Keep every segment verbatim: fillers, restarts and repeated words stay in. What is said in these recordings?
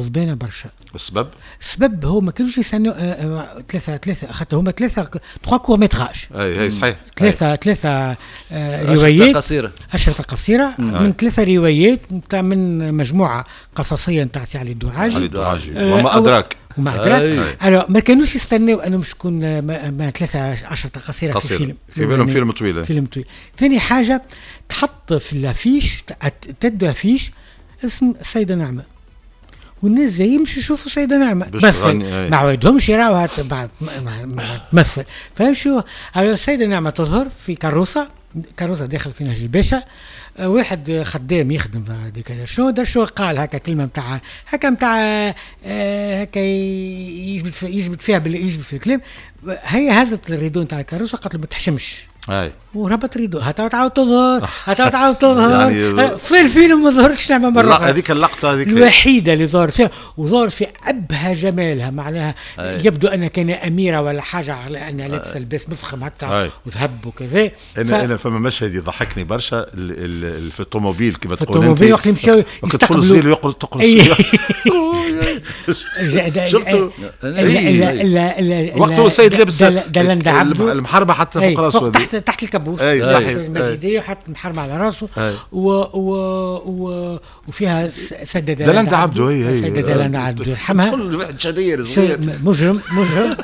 غضبانه برشا. السبب؟ السبب هو ما كانوش يستنوا ثلاثة ثلاثة خاطر هما ثلاثة trois courts métrages. اي اي صحيح. ثلاثة ثلاثة روايات قصيرة، أشرطة قصيرة من ثلاثة روايات نتاع من مجموعة قصصية نتاع سي علي الدعاجي. علي الدعاجي وما أدراك. وما أدراك. alors ما كانوش يستناو أنه مش تكون ما ثلاثة أشرطة قصيرة في فيلم. في بالهم فيلم طويل. فيلم طويل. ثاني حاجة تحط في l'affiche تبدو affiche اسم السيدة نعمة. والناس جايين باش يشوفوا سيدة نعمة تمثل، ما عودهمش يراوها بعد تمثل، فهمشوا. السيدة نعمة تظهر في كروسة، كروسة داخل في نهج الباشا، واحد خدام يخدم هذيك شنو دار شو قال هكا كلمة نتاع هكا نتاع هكا يجبد في يجبد فيها يجبد في الكلام، هي هزت ال rideau نتاع الكروسة قالت له ما تحشمش. اي وربط rideau هتا تعاود تظهر هتا تعاود تظهر يعني في الفيلم ما ظهرتش نعمة مرة أخرى. هذيك اللقطة هذيك الوحيدة اللي ظهرت فيها، وظهر في أبهى جمالها، معناها أي. يبدو أنها كان أميرة ولا حاجة على أنها لابسة لباس مفخم هكا وذهب وكذا. أنا ف... أنا فما مشهد يضحكني برشا في الطوموبيل كما تقول في الطوموبيل وقت اللي مشاو يستقبلوا الطفل يقول تقول شفتوا وقت هو السيد لابس المحربة حتى فوق راسه تحت تحت الكابوس اي صحيح المجيدية وحط المحرمة على راسه و و و وفيها سيدة دلندة عبده. هي هي سيدة دلندة عبده يرحمها. واحد شرير صغير مجرم مجرم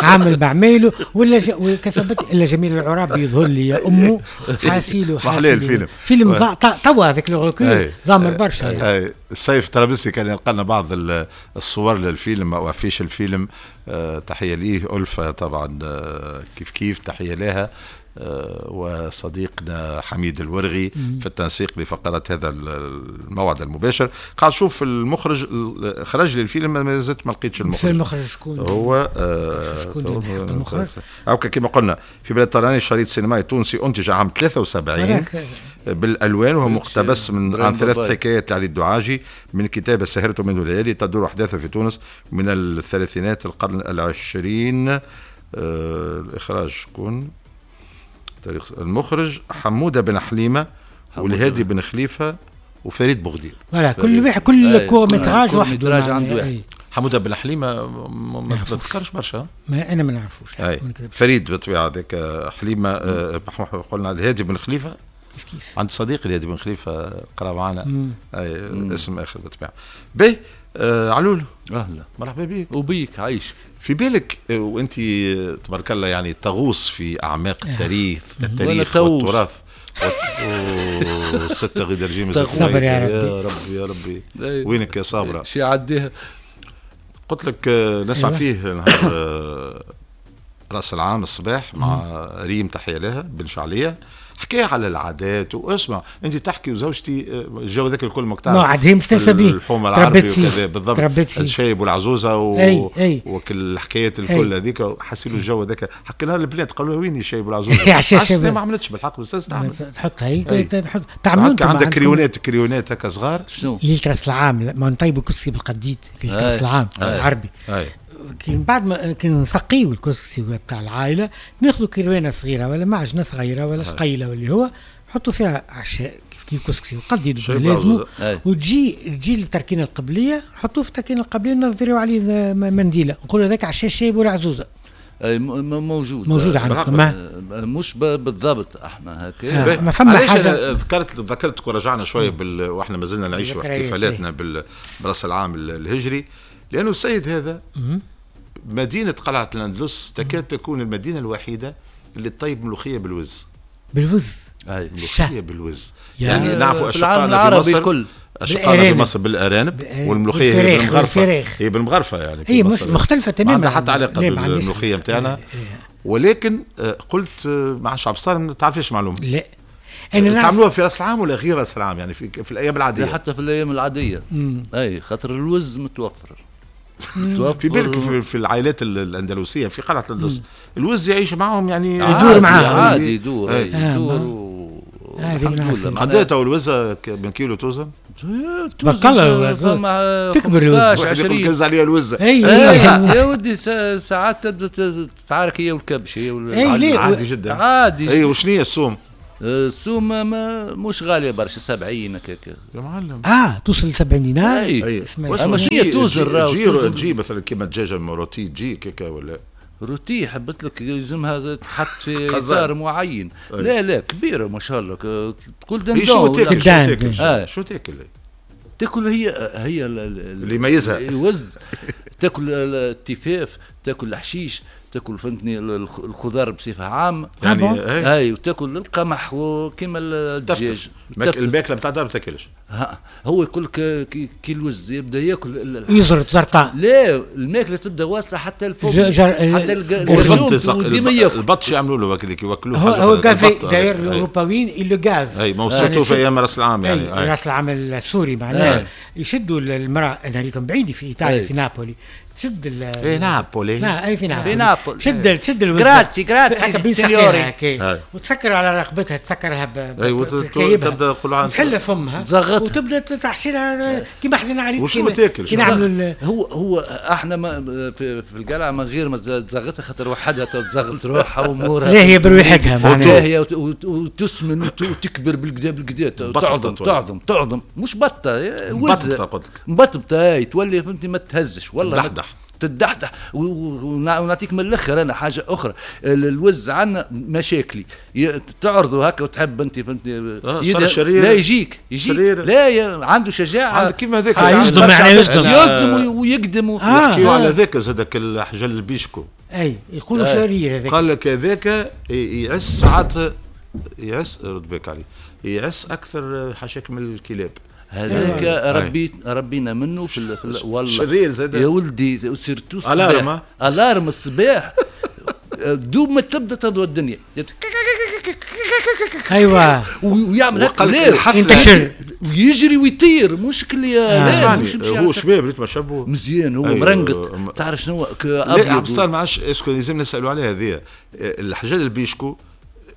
عامل بعمايله ولا ج... وكتبت الا جميل العرابي يظهر لي يا امه حاسيله حاسيله الفيلم فيلم ضا... توا avec le recul ضامر برشا. اي السيف ترابلسي كان يلقى لنا بعض الصور للفيلم او affiche الفيلم، تحية ليه. ألفة طبعا كيف كيف تحية لها، وصديقنا حميد الورغي في التنسيق لفقرات هذا الموعد المباشر. قاعد نشوف المخرج خرج لي الفيلم ما زلت ما لقيتش المخرج. المخرج شكون هو؟ شكون المخرج؟ او كما قلنا في بلاد طراني شريط سينمائي تونسي انتج عام ثلاثة وسبعين بالالوان، وهو مقتبس من عن ثلاث حكايات لعلي الدعاجي من كتاب سهرته منذ الليالي، تدور احداثه في تونس من الثلاثينات القرن العشرين. آه الاخراج شكون؟ تاريخ المخرج حموده بن حليمة والهادي بن خليفة وفريد بوغدير. voilà كل واحد كل court métrage وحده عنده واحد. حموده بن حليمة ما تذكرش برشا، ما انا ما نعرفوش. فريد بالطبيعة هذاك حليمة، قلنا الهادي بن خليفة كيف كيف عند صديقي الهادي بن خليفة قرا معنا اسم اخر بالطبيعة. باهي آه علول اهلا مرحبا بك. وبيك عايشك. في بالك وانت تبارك الله يعني تغوص في اعماق التاريخ التاريخ والتراث وستة غير جيم صبر يا ربي يا ربي يا ربي وينك يا صابره؟ شي عديها قلت لك نسمع أيوة. فيه نهار راس العام الصباح مع ريم تحية لها بن شعليه، حكاية على العادات واسمع انت تحكي وزوجتي الجو ذاك الكل ما تعرف عاد هي مستانسه به الحومه العربي وكذا بالضبط الشايب والعزوزه و... أي أي. وكل الحكايات الكل هذيك حسيلوا الجو هذاك. حكينا البنات قالوا وين الشايب والعزوزه؟ ما عملتش بالحق بس تعمل تحط هي تحط تعملوا عندك كريونات كريونات هكا صغار شنو ليلة راس العام ما نطيبوا كسكسي بالقديد ليلة راس العام العربي. كي بعد ما كي نسقيو الكسكسي بتاع العائلة ناخذوا كروانه صغيرة ولا معجنه صغيرة ولا شقيله واللي هو نحطوا فيها عشاء كيف كيف كسكسي وقديد لازم وتجي تجي للتركينه القبلية نحطوه في التركينه القبلية ونضريو عليه منديله نقولوا هذاك عشاء شايب ولا عزوزه. اي موجود موجود عندكم مش بالضبط احنا هكا آه ما فما حاجة. ذكرت ذكرتك ورجعنا شوية بال... واحنا مازلنا نعيش احتفالاتنا بال... براس العام الهجري، لانه السيد هذا مدينة قلعة الأندلس تكاد تكون المدينة الوحيدة اللي تطيب ملوخية بالوز. بالوز أي. ملوخية بالوز يعني نعرفوا أشقائنا في مصر الكل. أشقائنا في مصر بالأرانب والملوخية هي بالمغرفة، هي بالمغرفة يعني هي مش مختلفة تماما، ما عندها حتى علاقة بالملوخية نتاعنا. ولكن قلت مع شعب صار ما تعرفيش معلومة. لا أنا تعملوها في راس العام ولا غير راس العام يعني في, في الأيام العادية؟ حتى في الأيام العادية. مم. أي خاطر الوز متوفر. في بالك في, في العائلات الاندلسيه في قلعه الاندلس الوز يعيش معهم يعني يدور معاهم عادي يدور يدور و... الحمد لله. قداه تو الوزه من كيلو توزن؟ بطلة تكبر الوزه عشرين كز عليها الوزه. اي يا ودي ساعات تبدا تتعارك هي والكبش هي اي عادي جدا عادي. اي وشنو هي الصوم؟ السومه ما مش غالية برشا، سبعين هكاك يا معلم. اه توصل ل سبعين دينار. اي اما شنو توزن راهو تجي مثلا كيما الدجاجة rôtie تجي كيكا ولا rôtie حبت لك يلزمها تحط في اطار معين. أي. لا لا كبيرة ما شاء الله تقول dindon. شو تاكل؟ شو تاكل؟ آه. شو تاكل؟ تاكل هي هي اللي يميزها الوز، تاكل التفاف، تاكل الحشيش، تاكل فهمتني الخضار بصفة عامة يعني اي، وتاكل القمح وكيما الدجاج. الماكلة نتاع الدار ما تاكلش. هو يقول لك كي الوز يبدا ياكل يزرط زرطاء. لا الماكلة تبدا واصله حتى الفوق حتى الجرجوم ديما ياكل. البطش يعملوا له هكذاك يوكلوه. هو هو gavé داير الاوروباويين ils le gavent. اي ما surtout في ايام راس العام يعني. راس العام السوري معناها يشدوا المراة. انا ريتهم بعيني في ايطاليا في نابولي. تشد ال في نابولي. لا اي في نابولي. في نابولي تشد تشد الوزه grazie grazie signore، وتسكر على رقبتها، تسكرها ب اي وتبدا تقول تحل فمها وتبدا تحشي لها كيما احنا عليك. وشنو تاكل؟ كي نعملوا هو هو احنا ما في, في القلعة من غير ما تزغطها خاطر وحدها تزغط روحها وامورها. لا هي برويحتها معناها. لا هي وتسمن وتكبر بالكدا بالكدا، تعظم تعظم تعظم مش بطه وزه مبطبطه تولي فهمتني ما تهزش والله تدحدح. ونعطيك من الاخر انا حاجة اخرى، الوز عندنا مشاكلي تعرضوا هكا وتحب انت فهمتني آه لا يجيك يجيك لا ي... عنده شجاعة عندك كيما هذاك آه يصدم يعني يصدم يصدم ويقدم. يحكيوا آه. على ذاك زادك الحجل البيشكو اي يقولوا شرير هذاك. قال لك هذاك يعس ساعات يعس رد بالك عليه يعس اكثر حاشاك من الكلاب. هذاك ربيت ربينا منه في, في والله شرير زاد يا ولدي surtout الصباح alarme الصباح دوب ما تبدا تضوى الدنيا ايوه ويعمل هكا ينتشر ويجري ويطير مش كل آه. هو شباب ريت ما شابه مزيان هو. أيوة. مرنقط تعرف شنو ابيض. لا عبد الستار ما عادش est-ce que لازم نسالوا عليها هذه الحجل البيشكو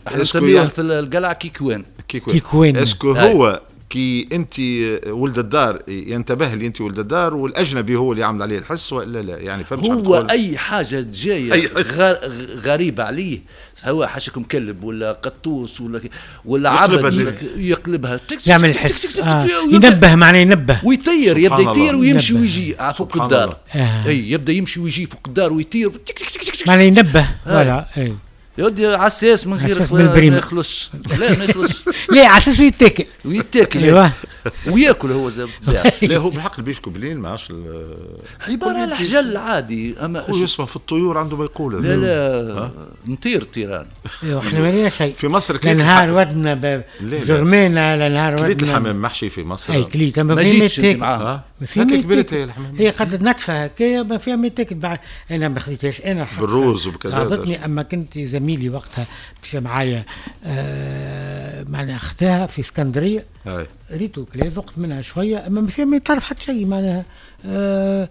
احنا نسميوه في القلعة كيكوان. كيكوان est-ce que هو كي انت ولد الدار ينتبه لي انت ولد الدار والاجنبي هو اللي عامل عليه الحس ولا لا يعني فهمت؟ هو اي حاجة جاية غريبة عليه هو حاشاكم كلب ولا قطوس ولا ولا عبد يقلبها يعمل الحس آه. ينبه معناه ينبه ويطير يبدا يطير ويمشي ويجي فوق الدار. آه. اي يبدا يمشي ويجي فوق الدار ويطير معناه ينبه voilà. اي يا ودي عساس من غير ما يخلصش. لا ما يخلصش. لا عساس ويتاكل ويتاكل ايوه وياكل هو زاد. لا هو بالحق البيشكو بلين ما عادش عبارة على حجل عادي. اما هو يسمع في الطيور عنده ما يقول. لا لا نطير طيران. ايوه احنا ما لنا شيء في مصر. لا نهار ودنا جرمانه لا نهار ودنا كليت الحمام محشي في مصر. اي كليت ما جيتش انت معاها هكا كبرت هي الحمام هي قد نتفه هكايا ما فيها ما يتاكل. انا ما خذيتهاش انا بالروز وبكذا غاضتني. اما كنت زميلي وقتها مشى معايا آه معناها اختها في اسكندرية ريتو كلا ذقت منها شوية اما ما فيها ما تعرف حتى شيء معناها آه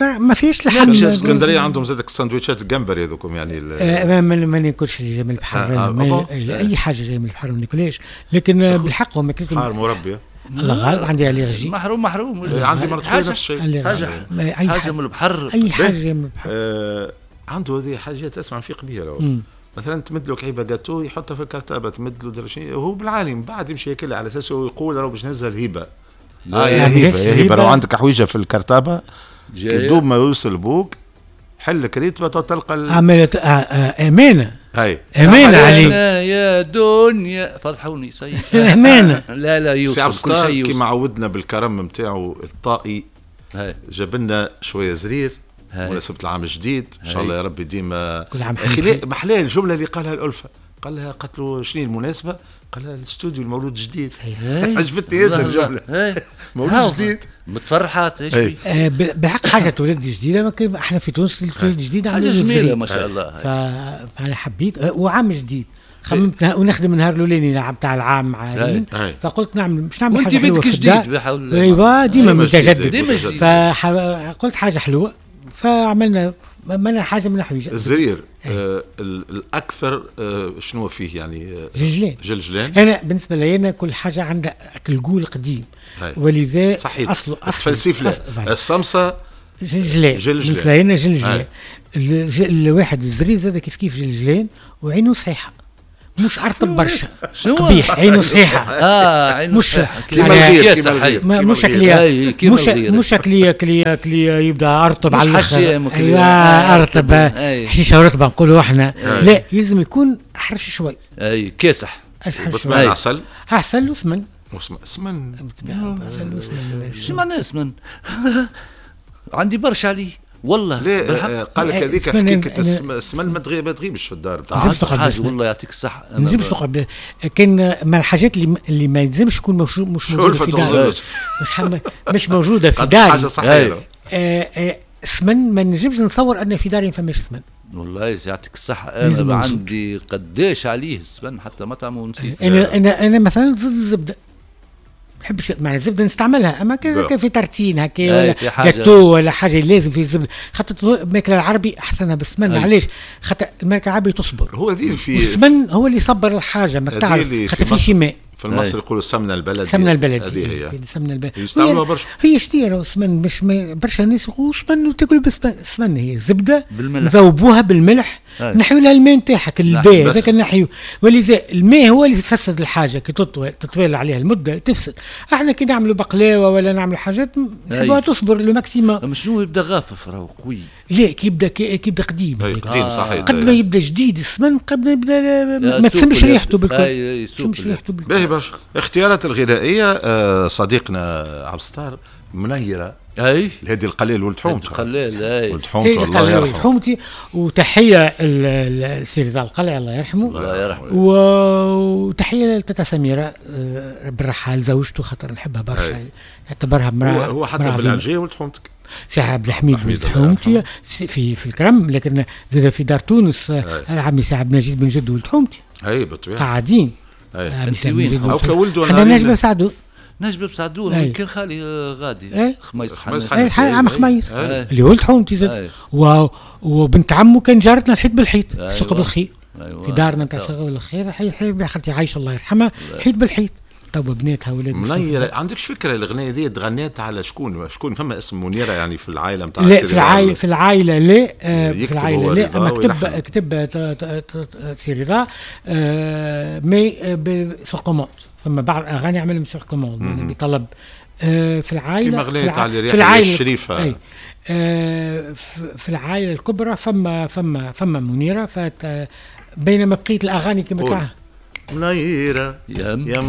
ما فيش لحم. في اسكندرية عندهم زادك السندويتشات الجمبري هذوكم يعني آه ما, ما ناكلش اللي جاي من البحر. آه آه اي, أي حاجة جاية من البحر ما ناكلهاش. لكن بالحق هم ماكلتهم حار مربيه. الله غالب عندي allergie. محروم محروم عندي مرض نفس الشيء. حاجة حاجة من البحر اي حاجة جاية من البحر. آه عنده هذه حاجات اسمع نفيق بها. مثلا تمد له كعيبه جاتو يحطها في الكرتابه، تمد له درشين هو بالعالي من بعد يمشي ياكلها على اساس هو يقول راه باش نهزها الهبة. اه يا هبه يا هبه لو عندك حويجه في الكرتابه دوب ما يوصل بوك حل كريتبه تلقى عملت امانه. هاي امانه عليك يا دنيا فضحوني صحيح. امانه. لا لا يوصل كل شيء يوصل. كيما عودنا بالكرم نتاعو الطائي جاب لنا شوية زرير مناسبة العام الجديد ان شاء الله يا ربي ديما كل عام. اخي محلاه الجملة اللي قالها الالفة، قال لها قالت له شنو المناسبة؟ قال لها الاستوديو المولود الجديد. عجبتني ياسر الجملة. مولود جديد متفرحات ايش آه بالحق حاجة تولد جديدة. احنا في تونس تولد جديدة حاجة جميلة ما شاء الله. فانا حبيت وعام جديد خممت ونخدم النهار الاولاني تاع العام مع ريم، فقلت نعمل مش نعمل حاجة حلوة وانت بيتك جديد بحول ايوا ديما متجدد. فقلت حاجة حلوة فعملنا عملنا حاجة من الحويجه. الزرير آه الاكثر آه شنو فيه يعني؟ آه جلجلان. جلجلان. انا بالنسبة لي انا كل حاجة عندها الجول قديم ولذا صحيح اصله اصل الفلسفة الصمصه جلجلان. بالنسبة لي انا جلجلان. الواحد الزرير زاد كيف كيف جلجلان وعينه صحيحه مش ارطب برشا، قبيح عينه صحيحه. اه عينه مش صحيحه كيما الغير، كيما الغير، مش شكلية، مش مش شكلية كلي كلي يبدا ارطب على الاخر. ايوه ارطب حشيشه ورطبه نقولوا احنا. لا يلزم يكون احرش شوي. اي كاسح. بالطبيعة عسل عسل وسمن. سمن عسل وسمن. شو معناه سمن؟ عندي برشا عليه والله. لا قال لك هذيك حكيكه السمن ما تغيبش في الدار بتاع حاجة. والله يعطيك الصحة. ما نلزمش تقعد، كان من الحاجات اللي اللي ما يلزمش تكون مش موجودة في دار، مش مش موجودة في داري. حاجة صحية. سمن ما نجمش نتصور ان في داري ما فماش سمن. والله يعطيك الصحة. انا عندي قداش عليه السمن حتى مطعم ونسيت. انا انا انا مثلا ضد الزبدة، نحبش مع الزبدة نستعملها، اما كان في tartine هكا ولا جاتو ولا حاجة لازم في الزبدة، خاطر الماكلة العربي احسنها بالسمن. علاش؟ خاطر الماكلة العربي تصبر، هو ذي في السمن هو اللي يصبر الحاجة، ما تعرف خاطر في شي ماء. في المصري يقولوا السمنة البلدي. السمنة البلدي هذه هي السمنة البلدي يستعملوها برشا. هي شنو السمن؟ مش برشا ناس يقولوا سمن وتاكل بالسمن. السمن هي الزبدة نذوبوها بالملح، نحيو لها الماء نتاعها الباء هذاك نحيو، ولذا الماء هو اللي يفسد الحاجة كي تطوي تطويل عليها المدة تفسد. احنا كي نعملوا بقلاوه ولا نعملوا حاجات نحبوها تصبر le maximum. شنو يبدا غافف راهو قوي. لا كي يبدا كي يبدا قديم. قديم صحيح. قد ما يبدا جديد السمن قد ما يبدا ما تسمش ريحته بالكل. اي تسمش ريحته بالكل. باهي برشا. اختيارات الغذائية صديقنا عبد الستار منيرة. اي الهادي القليل ولد حومتي. القليل اي ولد حومتي الله يرحمه. ولد حومتي، وتحية لسي رضا القلعي الله يرحمه. الله يرحمه. وتحية لتاتا سميرة بالرحال زوجته، خاطر نحبها برشا، نعتبرها امراة. هو حتى بالعرجيه ولد حومتك. سي عبد الحميد ولد حومتي في في الكرم، لكن زاد في دار تونس عمي سي عبد المجيد بن جدو ولد حومتي. اي بالطبيعة. قاعدين. انت وين؟ او كولده انا نجم سعدو. نجم بسعدون كان خالي غادي خميس حنش. عم خميس اللي ولد حومتي زاد، وبنت عمه كان جارتنا الحيط بالحيط في سوق بالخير. في دارنا نتاع سوق بالخير، حي خالتي عايشه الله يرحمها، حيط بالحيط. توا بناتها ولاد. منيرة عندكش فكرة الاغنية دي تغنيت على شكون؟ شكون فما اسم منيرة يعني في العائلة نتاع؟ لا في العائلة في العائلة لا في العائلة لا، اما كتب كتب سي رضا mais sur commande. فما بعض الاغاني عملهم sur commande بطلب في العائلة. كيما غنيت على ريحه الشريفة. اي في العائلة الكبرى فما فما فما منيرة، فات بينما بقية الاغاني كما تاع منيرة يا منيرة.